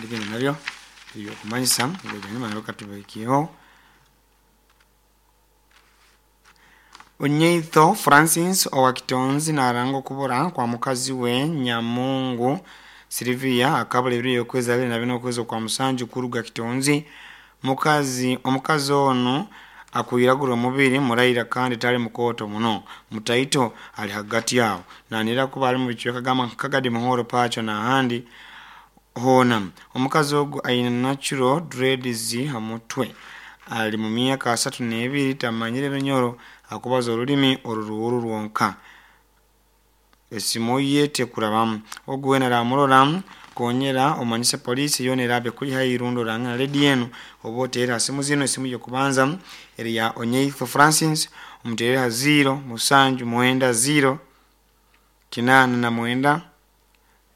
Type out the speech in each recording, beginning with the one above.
Ebindi nabyo ebyokumanyisa ebyanyuma nabyo katubihikyeho. Onyeitho Francis owa Kitonzi naranga okubura kwa mukazi we Nyamungu Silivia akabura ebiro byokwezi 24 okwezi okwa musanju kuruga Kitonzi. Mukazi omukazi onu akwiragura omubiri muraira kandi tali mukooto muno, mutaito ali hagati aho. Nanira kuba ali mubicweka gamba nka Kagadi, Muhoro, Pacho n'ahandi hoona. Omukazi ogu aine natural dreads ha mutwe, ali mu myaka 32, tamanyire Runyoro, akubaza orulimi Oruruhuru rwonka. Esimu ye tekurabamu. Ogu weena aramurora konyera omanyise poliisi yoona eraabe ekuli haihi rundi orange na rediyo enu oba oteere ha simu zinu. Esimu y'okubanza eri ya Onyeitho Francis, omuteerere ha 0 7 9 0 89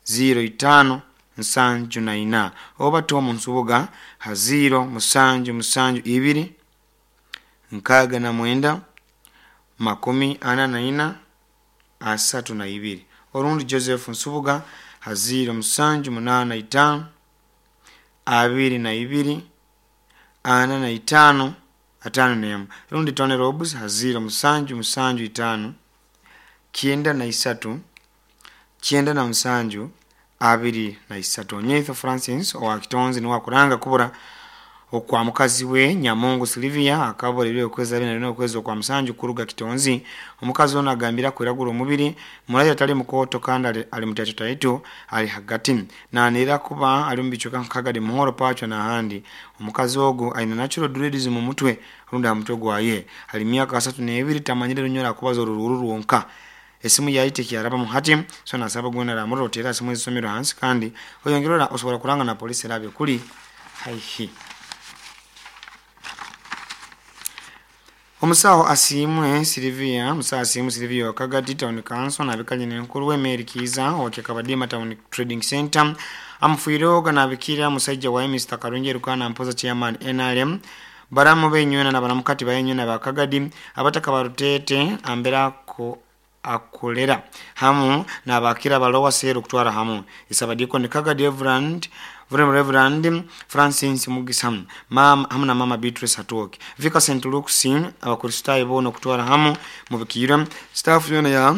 05 74, oba Tom Nsubuga ha 0 7 7 2 69 44 32, orundi Joseph Nsubuga ha 0 7 8 5 22 45 51, rundi Tony Robs ha 0 7 7 5 93 97 23. Onyeitho Francis owa Kitonzi niwe akuranga kubura okwa mukazi we Nyamungu Silivia akabura ebiro byokwezi 24 okwezi okwa musanju kuruga Kitonzi. Omukazi onu agambire akwiragura omubiri, muraira tali mukooto kandi ali mutaito ali hagati. Nanira kuba ali mubicweka nka Kagadi, Muhoro, Pacho n'ahandi. Omukazi ogu aine natural dreads mu mutwe rundi aha mutwe gwaye. Ali myaka 32, tamanyire Runyoro, akubaza Oruruhuru rwonka. Esimu yaye tekyarabamu hati, so nasaba gwena aramurora oteere ha simu ezisomerwe hansi kandi oyongere osobola kuranga na poliisi eraabe ekuli haihi. Omusaho Asiimwe Silivia, Omusaho Asiimwe Silivia wa Kagadi Town Council nabika nyina enkuru we Mary Kiiza owa Kyakabadima Town Trading Center amufiireho nabikira musaija waye Mr. Karungi Erukana Mpoza Chairman NRM, baramu benywena na baramukati bayenywena ba Kagadi, abataka barutete ambera akolera hamu nabakira balowa seru kutwara hamu isabadiko Kagadi Reverend Reverend Francis Mugisa mama hamu na mama Beatrice Hatoki Vika St. Luke's Abakristaayo boona okutwara hamu mubikira staff yona ya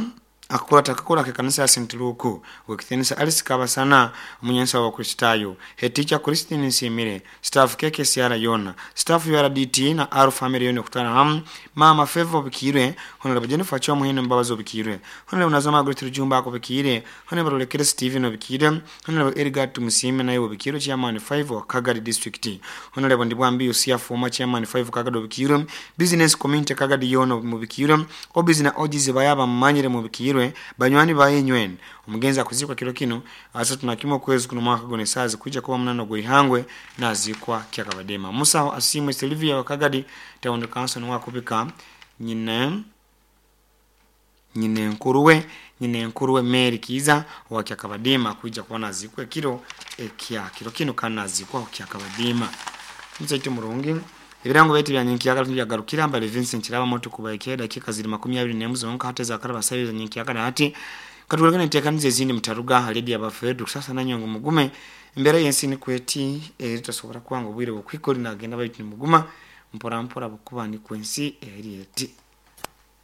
akakora takakora ke kanisa ya St. Luke wekitinisa Alice Kabasana omunyansi w'Abakristaayo, head teacher Christine Nsimire, staff KKCR yona, staff URDT na R family yona okutwara hamu, mama Favor Bikirwe, Honorable Jennifer Chomuhino Mbabazi Obikirwe, Honorable Nazoma Margaret Rujumba Akobikire, Honorable Lekere Steven Obikire, Honorable Edgar Tumusime naye Obikirwe Chairman 5 wa Kagadi District, Honorable Ndibwambi Yusia former Chairman 5 Kagadi Obikirwe, Business Community Kagadi yona mubikirwe, Obizi na Ojizi bayaba mumanyire mubikirwe, banywani bayenywene. Omugenzi akuzikwa kiro kino 31 okwezi kuno mwaka guno esaazi kuija kuba 8 gw'eihangwe nazikwa Kyakabadema. Musaho Asiimwe Silivia wa Kagadi Town Council niwe akubika nyina enkuru we Mary Kiiza owa Kyakabadema kuija kuba nazikwa ekiro ekya kiro kino kandi nazikwa Kyakabadema. Musaito murungi ebirango baitu bya nyenkyakara byagarukira mbale Vincent Kiraba moto kubaikira dakika ziri 21 zonka hata zakaraba sayo za nyenkyakara hati katulekane ntekanize ezindi mutaruga haledi abafedu sasa nanyongo mugume embera yensi ni kweti eri tasobora kwanga obwire bukwikoli nagenda baitu nimuguma mpora mpora bukuba ni kwensi eri eti.